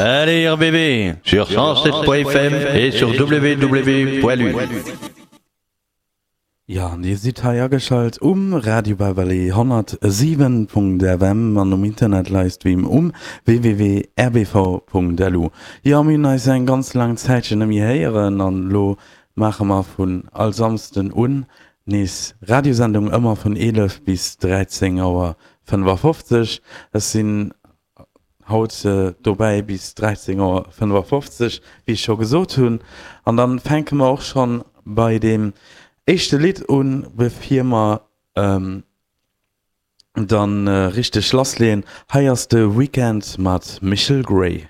Allez RBB sur 107.fm et sur www.lu. Jo, an dir sidd hei ageschalt um Radio Babalé 107.fm an um Internet Livestream um www.rbv.lu. Jo, mir hunn eis eng ganz laang Zäitchen net méi héieren an elo maache mer vun all Samsden un nees Radiosendung, ëmmer vun 11 bis 13 Auer 55. Ech sinn haut dobäi bis 13 Auer 55, wéi ech scho gesot hunn. An dann fänke mer och schonn bei deem éischte Lidd un, bevir mer dann richteg lassleeën. Hei ass de Weekend mat Michel Grey.